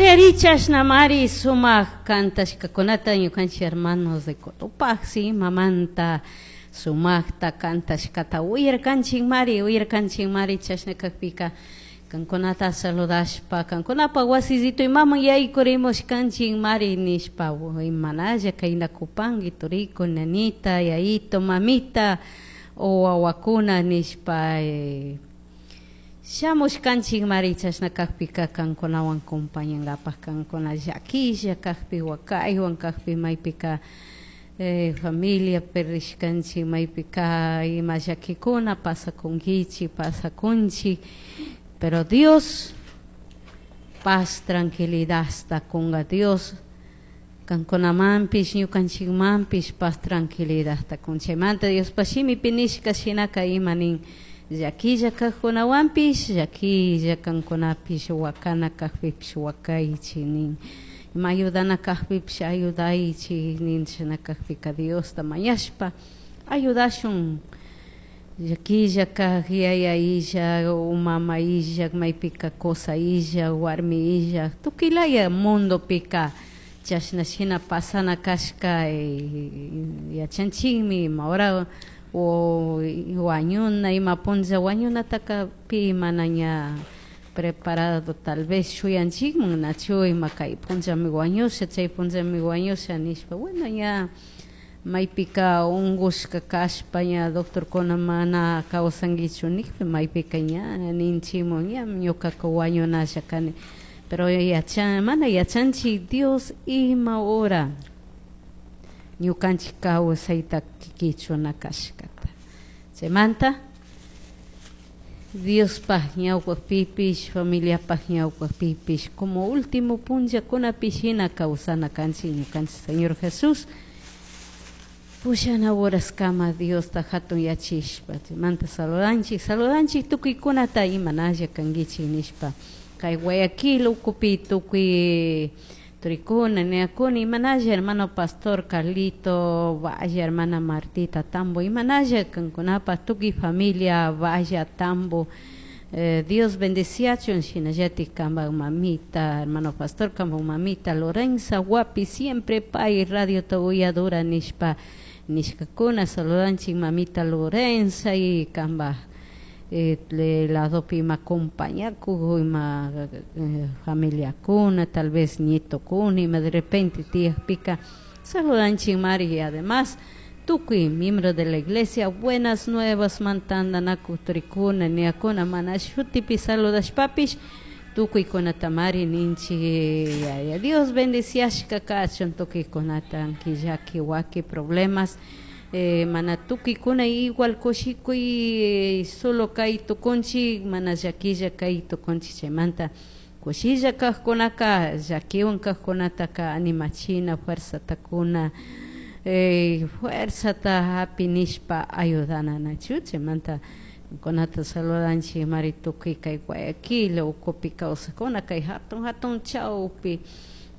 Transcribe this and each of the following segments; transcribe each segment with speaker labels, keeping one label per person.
Speaker 1: Ari ari chashnamari sumak kantashkakunata ñukanchik hermanos de Cotopaxi mamanta sumakta kantashkata uyarkanchikmari uyarkanchikmari. Chashna kakpika kankunata saludashpa kankunapa wasillito imaman yaykurimushkanchikmari nishpa imanalla kaynakupanki turiku nanita yayito mamita o wawakuna nishpa shamushkanchikmari. Chashna kakpika kankunawan compañankapak kankuna llakilla kakpi wakaywan kakpi maypika familia perdishkanchik maypika ima llakikuna pasakunkichik pasakunchik, pero Dios paz tranquilidadta kunga. Dios kankunamanpish ñukanchikmanpish paz tranquilidadta kun. Chaymanta Diospa shimipi nishka shinaka ima nin llakilla kajkunawanpish llakilla kankunapish wakana kakpipish wakaychik nin, ima ayudana kakpipish ayudaychik nin. Chashna kakpika Diosta mañashpa ayudashun llakilla kak yaya illak o mama illak maypika kusa illak warmi illak tukuylaya mundopika chashna shina pasana kashka yachanchikmi ima hora o wañuna ima punlla wañunataka pi mana ña preparado tal vez shuyanchikman nachu ima kay punllami wañusha chay punllami wañusha nishpa. Bueno, ña maypika unkushka kashpa ña doctorkuna mana kawsankichu nikpi maypika ña ninchikmun ña ñukaka wañunalla kani, pero yachan mana yachanchik Dios ima hora ñukanchik kawsayta kichuna kashkata. Chaymanta Diospaj ñawpakpipish familiapaj ñawpakpipish como último punllakunapi shina kawsana kanchik ñukanchik Señor Jesús pushana horaskama Diosta hatun yachishpa. Chaymanta saludanchik saludanchik tukuykunata imanalla kankichik nishpa kay Guayaquil ukupi tukuy turikuna niyakuna imanalla hermano pastor Carlito Valle, hermana Martita Tambo, imanalla kankunapaj tukuy familia Valle Tambo, Dios bendeciachun. Shinallatik kanpak mamita hermano pastor kanpak mamita Lorenza Guapi siempre pay radiota uyadura nishpa nishkakuna. Saludanchik mamita Lorenza y kanpak ladopi ima compañakuk ima familiakuna tal vez nietokuna ima de repente tiyakpika saludanchik mari. Y además tukuy miembro de la iglesia Buenas Nuevas mantandanakuy turikuna niyakuna mana shutipi saludashpapish tukuykunata mari ninchik yaya Dios bendiciashka kachun tukuykunata llaki waki problemas mana tukuykuna igual kushikuy solo kay tukunchik mana llakilla kay tukunchik. Chaymanta kushilla kajkunaka llakiwan kajkunataka animachina fuerzata kuna fuerzata hapi nishpa ayudana nachu. Chaymanta kunata saludanchik mari tukuy kay Guayaquil ukupi kawsakuna kay hatun hatun chawpi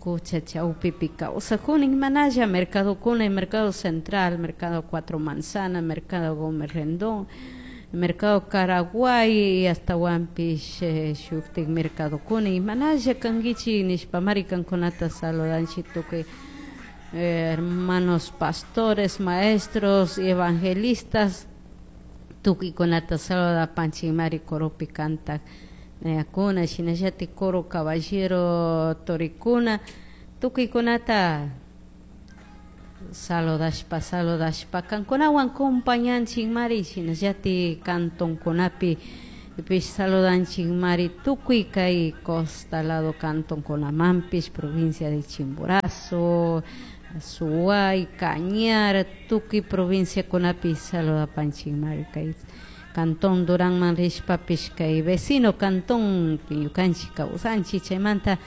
Speaker 1: kucha chawpipi kawsakuna imanalla mercadokuna mercado central, mercado Cuatro Manzana, mercado Gómez Rendón, mercado Caraguay astawanpish shuktik mercadokuna imanalla kankichik nishpa mari kankunata saludanchik tukuy hermanos pastores, maestros, evangelistas tukuykunata saludapanchik mari coropi kantak nayakuna shinallatik coro caballero torikuna tukuykunata saludashpa saludashpa kankunawan compañanchik mari. Shinallatik cantonkunapi pish saludanchik mari tukuy kay costa lado cantonkunamanpish provincia de Chimborazo, Azuay, Cañar, tukuy provinciakunapi saludapanchik mari kay cantón Duránman rishpapish kay vecino cantón ñukanchik kawsanchik. Chaymanta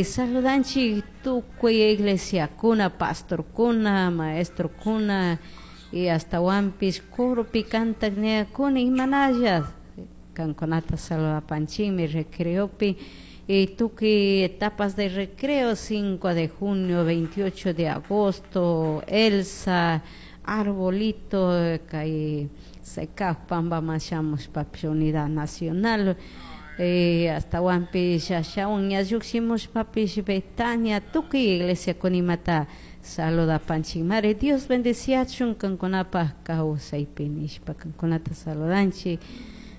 Speaker 1: saludanchik tukuy iglesiakuna pastorkuna maestrokuna y astawanpish coropi kantak niyakuna imanalla kankunata saludapanchikmi recreopi y tukuy etapas de recreo 5 de junio, 28 de agosto, Elsa, Arbolito, kay Secaj Pamba shamushpapish Unidad Nacional. Ashtawanpish ashawan ña llukshimushpapish Betania tukuy iglesiakunimata saludapanchik mari. Dios bendeciachun kankunapaj kawsaypi nishpa kankunata saludanchik.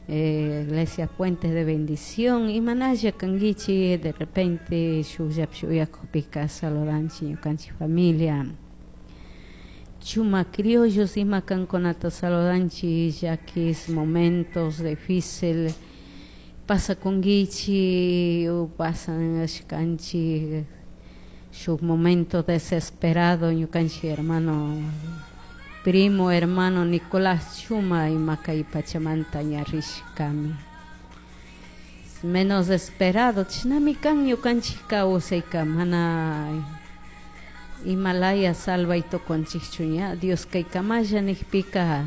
Speaker 1: Iglesia Puentes de Bendición, imanalla kankichik, de repente shukllapish uyakukpika saludanchik ñukanchik familia Chuma Criollos, ima kankunata saludanchik, llakis momentos difícil pasakunkichik o pasashkanchik shuk momento desesperado. Ñukanchik hermano, primo hermano Nicolás Chuma ima kay pachamanta ña rishkami menos esperado. Chashnami kan ñukanchik kawsayka, mana imalaya salvay tukunchikchu ña Dios kaykamalla nijpika.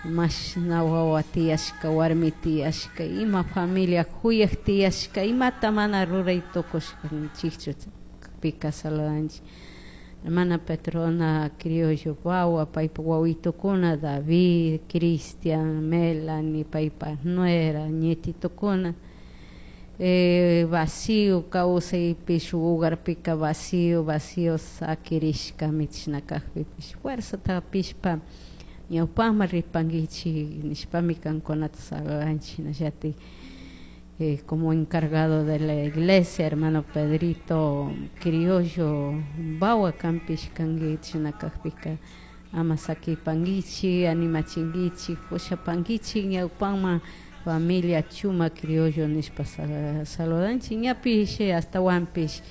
Speaker 1: Mashna wawa tiyashka, warmi tiyashka, ima familia kuyak tiyashka, imata mana ruray tukushkanchikchu pika saludanchik. Hermana Petrona Criollo wawa, paypa wawitukuna David, Cristian, Melanie, paypa nuera, nietitukuna, vacío kawsaypi shuk hogarpika vacío, vacío sakirishkami. Chashna kakpipish fuerzata hapishpa ñawpakman ripankichik nishpami kankunata saludanchik. Shinallatik como encargado de la iglesia, hermano Pedrito Criollo Bawa, kanpish kanki. Chashna kakpika ama sakipankichik, animachinkichik, pushapankichik ñawpakman familia Chuma Criollo nishpa saludanchik. Ñapish ashtawanpish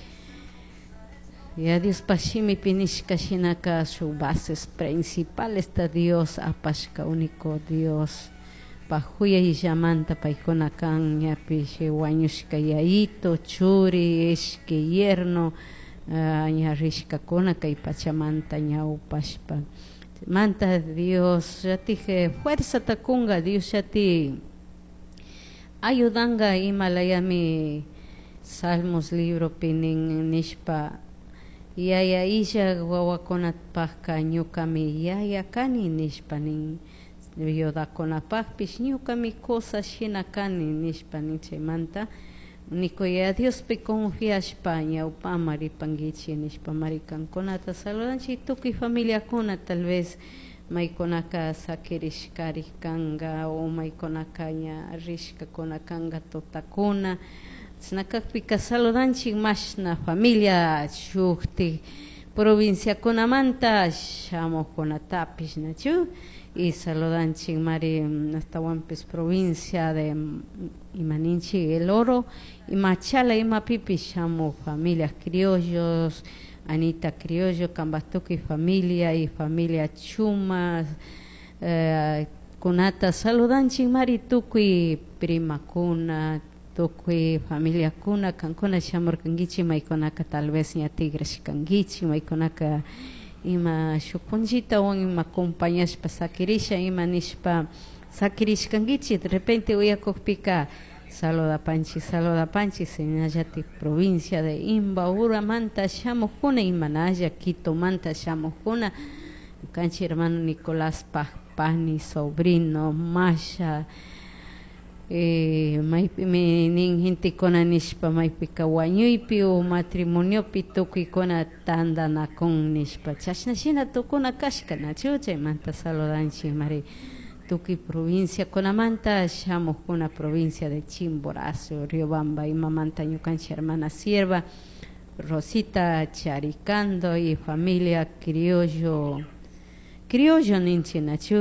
Speaker 1: ya Diospaj shimipi nishka shinaka shuk bases principales ta Dios apashka, único Dios paj juyayllamanta paykuna kan. Ñapish wañushka yayito, churi, ishki yerno ña rishkakuna kay pachamanta ñawpashpa manta. Dios llatik fuerzata kunga, Dios llatik ayudanga. Imalayami Salmos libropi nin nishpa: "Yaya illak wawakunapajka ñukami yaya kani" nishpa nin, "viudakunapajpish ñukami kusa shina kani" nishpa nin. Chaymanta nikuy Diospi confiashpa ñawpaman ripankichik nishpa mari kankunata saludanchik. Tukuy familiakuna tal vez maykunaka sakirishkarik kanka o maykunaka ña rishkakuna kanka tutakuna, chashna kakpika saludanchik. Mashna familia shuktik provinciakunamanta shamukkunatapish nachu y saludanchik mari. Ashtawanpish provincia de imaninchik El Oro y Machala, imapipish shamuk familias criollos, Anita Criollo, kambaj tukuy familia y familia Chuma kunata saludanchik mari. Tukuy primakuna, tukuy familiakuna, kankuna shamurkankichik, maykunaka tal vez ña tigrashkankichik, maykunaka ima shuk punchitawan ima acompañashpa sakirisha ima nishpa sakirishkankichik, de repente uyakukpika saludapanchik, saludapanchik. Shinallatik provincia de Imbaburamanta shamukkuna, imanalla Quitomanta shamukkuna, ñukanchik hermano Nicolás pani, sobrino, Masha, maypimi nin gentekuna nishpa maypika wañuypi o matrimoniopi tukuykuna tandanakun nishpa, chashna shina tukuna kashka nachu. Chaymanta saludanchik mari tukuy provinciakunamanta shamukkuna, provincia de Chimborazo, Riobamba, imamanta ñukanchik hermana sierva Rosita Charicando y familia Criollo, Criollo ninchik nachu,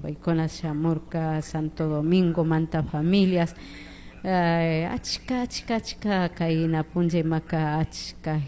Speaker 1: paykuna shamurka Santo Domingo manta familias, achka, achka, achka kayna punlla imaka achka.